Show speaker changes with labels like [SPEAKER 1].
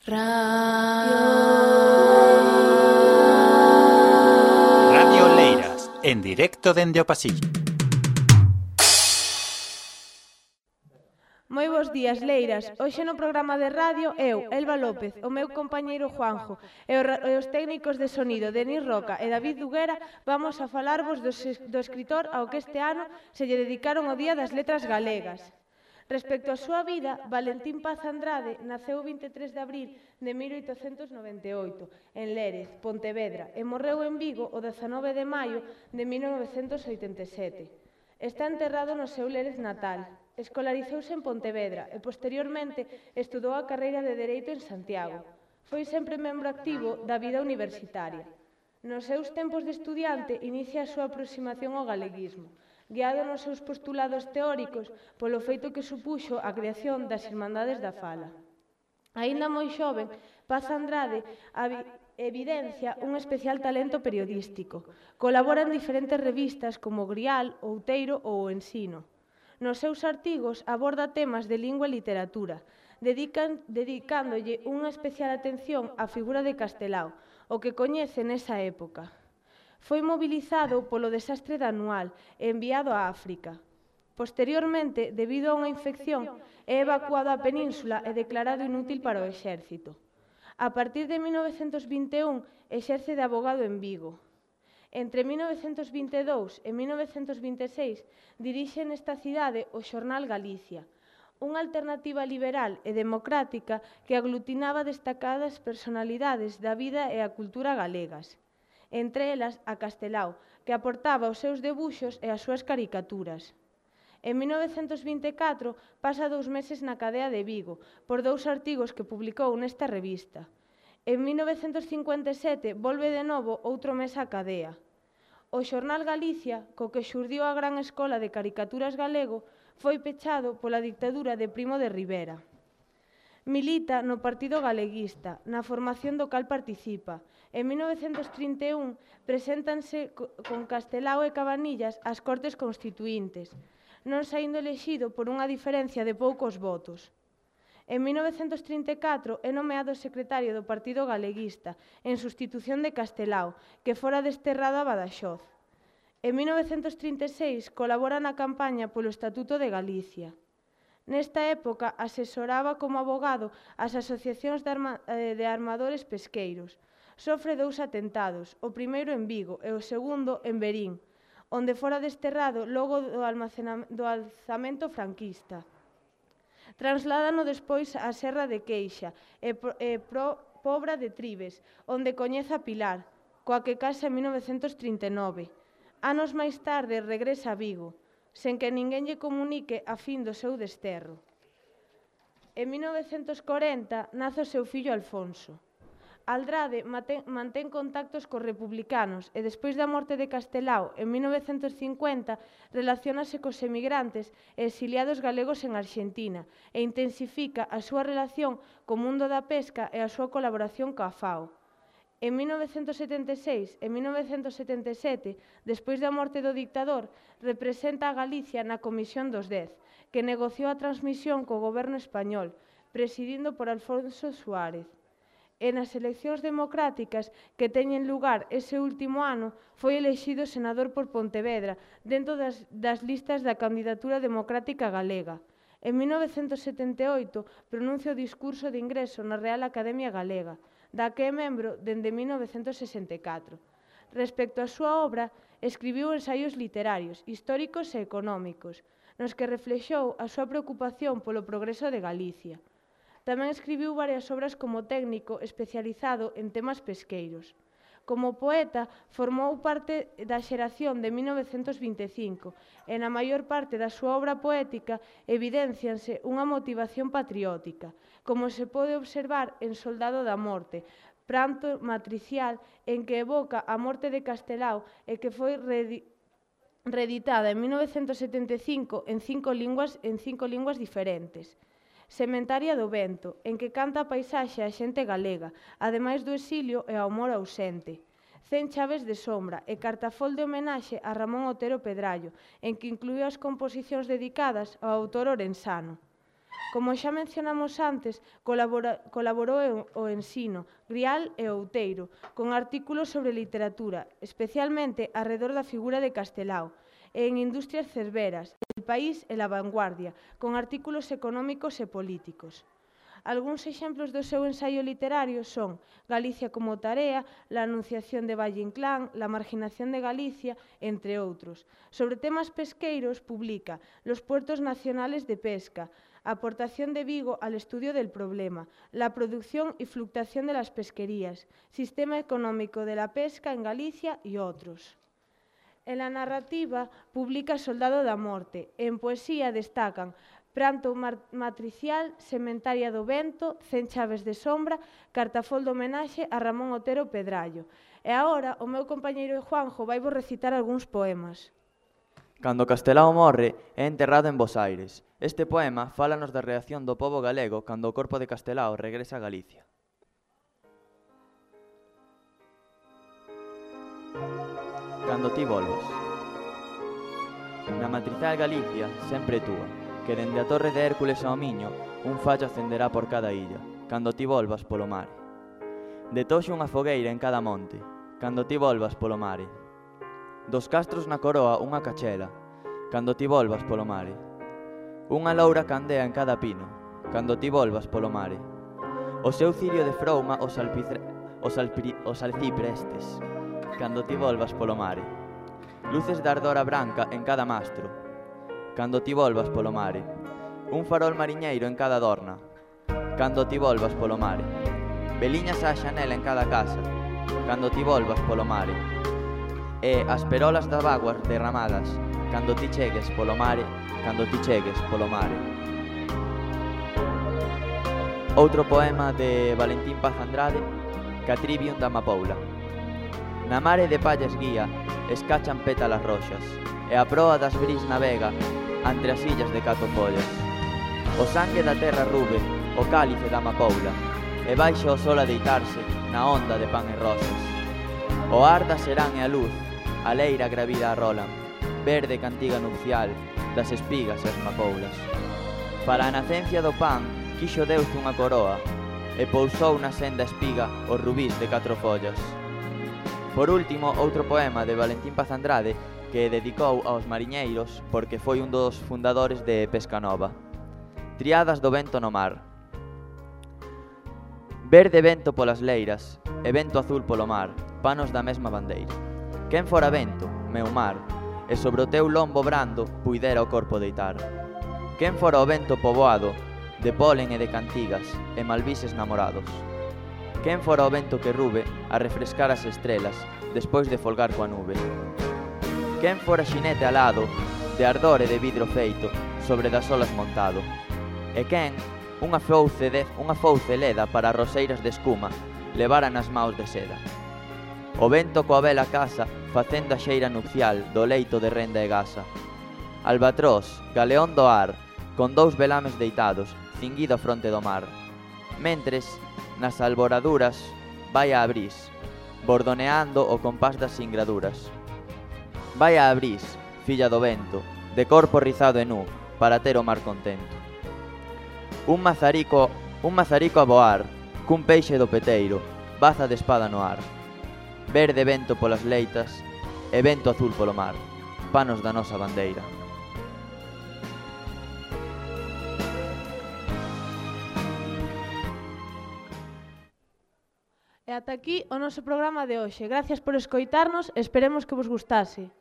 [SPEAKER 1] Radio Leiras, en directo dende o pasillo.
[SPEAKER 2] Moi bons días, Leiras. Hoxe no programa de radio eu, Elba López, o meu compañeiro Juanjo e os técnicos de sonido Denis Roca e David Duguera vamos a falarvos do escritor ao que este ano se lle dedicaron o Día das Letras Galegas. Respecto á súa vida, Valentín Paz Andrade naceu o 23 de abril de 1898 en Lérez, Pontevedra, e morreu en Vigo o 19 de maio de 1987. Está enterrado no seu Lérez natal. Escolarizouse en Pontevedra e posteriormente estudou a carreira de Dereito en Santiago. Foi sempre membro activo da vida universitaria. Nos seus tempos de estudiante inicia a súa aproximación ao galeguismo, guiado nos seus postulados teóricos polo feito que supuxo a creación das Irmandades da Fala. Aínda moi xoven, Paz Andrade evidencia un especial talento periodístico. Colabora en diferentes revistas como Grial, Outeiro ou O Ensino. Nos seus artigos aborda temas de lingua e literatura, dedicándolle unha especial atención á figura de Castelao, o que coñece nesa época. Foi mobilizado polo desastre da Anual e enviado a África. Posteriormente, debido a unha infección, é evacuado á península e declarado inútil para o exército. A partir de 1921, exerce de abogado en Vigo. Entre 1922 e 1926, dirixe nesta cidade o xornal Galicia, unha alternativa liberal e democrática que aglutinaba destacadas personalidades da vida e a cultura galegas. Entre elas a Castelao, que aportaba os seus debuxos e as súas caricaturas. En 1924 pasa 2 meses na cadea de Vigo por 2 artigos que publicou nesta revista. En 1957 volve de novo outro mes á cadea. O xornal Galicia, co que xurdiu a gran escola de caricaturas galego, foi pechado pola dictadura de Primo de Rivera. Milita no Partido Galeguista, na formación do cal participa. En 1931 preséntanse con Castelao e Cabanillas ás Cortes Constituíntes, non saindo elexido por unha diferencia de poucos votos. En 1934 é nomeado secretario do Partido Galeguista, en sustitución de Castelao, que fora desterrado a Badaxoz. En 1936 colabora na campaña polo Estatuto de Galicia. Nesta época asesoraba como abogado as asociacións de armadores pesqueiros. Sofre 2 atentados, o primeiro en Vigo e o segundo en Verín, onde fora desterrado logo do alzamento franquista. Trasládano despois á Serra de Queixa e Pobra de Tribes, onde coñece a Pilar, coa que casa en 1939. Anos máis tarde regresa a Vigo, sen que ninguén lle comunique a fin do seu desterro. En 1940 nace o seu fillo Alfonso. Aldrade mantén contactos cos republicanos e despois da morte de Castelao en 1950 relaciónase cos emigrantes e exiliados galegos en Arxentina e intensifica a súa relación co mundo da pesca e a súa colaboración coa FAO. En 1976 e 1977, despois da morte do dictador, representa a Galicia na Comisión dos 10, que negociou a transmisión co goberno español, presidindo por Alfonso Suárez. E nas eleccións democráticas que teñen lugar ese último ano, foi elexido senador por Pontevedra dentro das listas da candidatura democrática galega. En 1978 pronuncia o discurso de ingreso na Real Academia Galega, da que é membro dende 1964. Respecto á súa obra, escribiu ensaios literarios, históricos e económicos, nos que reflexou a súa preocupación polo progreso de Galicia. Tamén escribiu varias obras como técnico especializado en temas pesqueiros. Como poeta, formou parte da xeración de 1925 e na maior parte da súa obra poética evidencianse unha motivación patriótica, como se pode observar en Soldado da Morte, pranto matricial en que evoca a morte de Castelao e que foi reeditada en 1975 en 5 linguas diferentes. Sementaria do Vento, en que canta a paisaxe a xente galega, ademais do exilio e ao amor ausente. 100 chaves de sombra e cartafol de homenaxe a Ramón Otero Pedrallo, en que incluíu as composicións dedicadas ao autor orensano. Como xa mencionamos antes, colaborou o Ensino, Grial e Outeiro, con artículos sobre literatura, especialmente arredor da figura de Castelao, e en Industrias Cerveras, El País e La Vanguardia, con artículos económicos e políticos. Algúns exemplos do seu ensaio literario son Galicia como tarea, La anunciación de Valle Inclán, La marginación de Galicia, entre outros. Sobre temas pesqueiros, publica Los puertos nacionales de pesca, Aportación de Vigo al estudio del problema, La producción y fluctuación de las pesquerías, Sistema económico de la pesca en Galicia y otros. En la narrativa, publica Soldado da Morte. En poesía destacan Pranto matricial, Sementaria do vento, 100 chaves de sombra, Cartafol de homenaxe a Ramón Otero Pedrallo. E agora o meu compañeiro Juanjo vai vos recitar algúns poemas.
[SPEAKER 3] Cando Castelao morre, é enterrado en Bos Aires. Este poema fálanos da reacción do pobo galego cando o corpo de Castelao regresa a Galicia. Cando ti volvas. Na matricial Galicia, sempre túa, que dende a torre de Hércules ao Miño, un fallo acenderá por cada illa, cando ti volvas polo mare. Detoxe unha fogueira en cada monte, cando ti volvas polo mare. Dos castros na coroa unha cachela, cando ti volvas polo mare. Unha loura candea en cada pino, cando ti volvas polo mare. O seu cirio de frouma os alciprestes, cando ti volvas polo mare. Luces de ardora branca en cada mastro, cando ti volvas polo mare. Un farol mariñeiro en cada dorna, cando ti volvas polo mare. Veliñas á xanela en cada casa, cando ti volvas polo mare. E as perolas das vaguas derramadas, cando ti chegues polo mare, cando ti chegues polo mare. Outro poema de Valentín Paz Andrade, Catrivium da Amapoula. Na mare de pallas guía, escachan pétalas roxas, e a proa das bris navega entre as illas de cato follas. O sangue da terra rube, o cálice da amapoula, e baixa o sol a deitarse na onda de pan e rosas. O ar da serán e a luz, a leira gravida arrolan, verde cantiga nupcial das espigas e as mapoulas. Para a nacencia do pan, quixo Deus unha coroa, e pousou na senda espiga os rubís de 4 follas. Por último, outro poema de Valentín Paz Andrade que dedicou aos mariñeiros porque foi un dos fundadores de Pescanova. Triadas do vento no mar. Verde vento polas leiras e vento azul polo mar, panos da mesma bandeira. Quen fora vento, meu mar, e sobre o teu lombo brando puidera o corpo deitar. Quen fora o vento poboado de polen e de cantigas e malvises namorados. Quen fora o vento que rube a refrescar as estrelas despois de folgar coa nube. Quen fora xinete alado de ardor e de vidro feito sobre das olas montado. E quen unha fouce leda para roseiras de escuma levara nas maus de seda. O vento coa vela casa facendo a xeira nupcial do leito de renda e gasa. Albatros, galeón do ar, con 2 velames deitados, cinguido a fronte do mar. Mentres, nas alboraduras, vai a Abrís, bordoneando o compás das singraduras. Vai a Abrís, filla do vento, de corpo rizado e nu, para ter o mar contento. Un mazarico a voar, cun peixe do peteiro, baza de espada no ar. Verde vento polas leitas e vento azul polo mar, panos da nosa bandeira.
[SPEAKER 2] E ata aquí o noso programa de hoxe. Gracias por escoitarnos e esperemos que vos gustase.